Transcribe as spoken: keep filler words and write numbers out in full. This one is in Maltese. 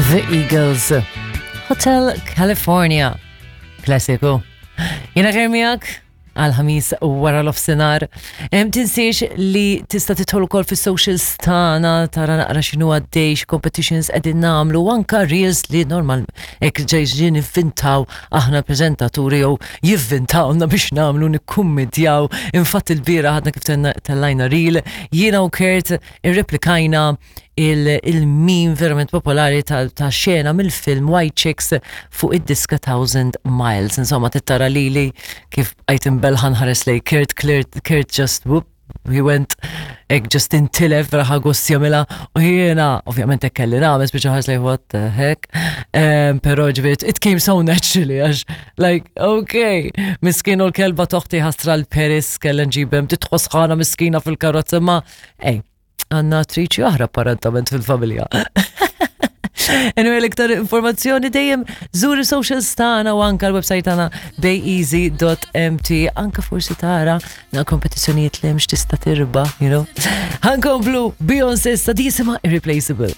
The Eagles. Hotel California. Klassiku. Jiena miegħek għal-Ħamis wara nofsinhar. Tinsiex li tista' tidħol ukoll fis-socials tagħna tara naqra x'inhu għaddej, competitions qegħdin nagħmlu, u anka reels li normal hekk ġejġin nivvintaw aħna preżentaturi jew jivvintawna biex nagħmlu nikkummedjaw. Infatti il-bieraħ għadna kif tellajna reel, jiena u Kurt irreplikajna il-meme verament popolari ta' xena mill-film White Chicks fuq id-diska Thousand Miles. Insomma, tittara lili kif għajt imbelħan ħares lej Kurt, Kurt, Kurt just whoop, he went hekk just intilef raħa gost jagħmilha u jiena ovvjament hekk kelli nagħmel speċi ħares lej what the heck. Um, però ġifieri it came so naturally għax like okay, miskin u l-kelba t'oħti ħasra l-Paris kellha nġibem titħoss ħana miskina fil-karozza ma ej, għandna attriċi oħra apparentament fil-familja. Anyway, l-iktar informazzjoni dejjem żur socials tagħna u anka l-website tagħna bayeasy.mt anka forsi tara na kompetizzjonijiet li mhux tista' tirbaħ, you know. Ħa nkomplu Beyoncé issa di jisimha Irreplaceable.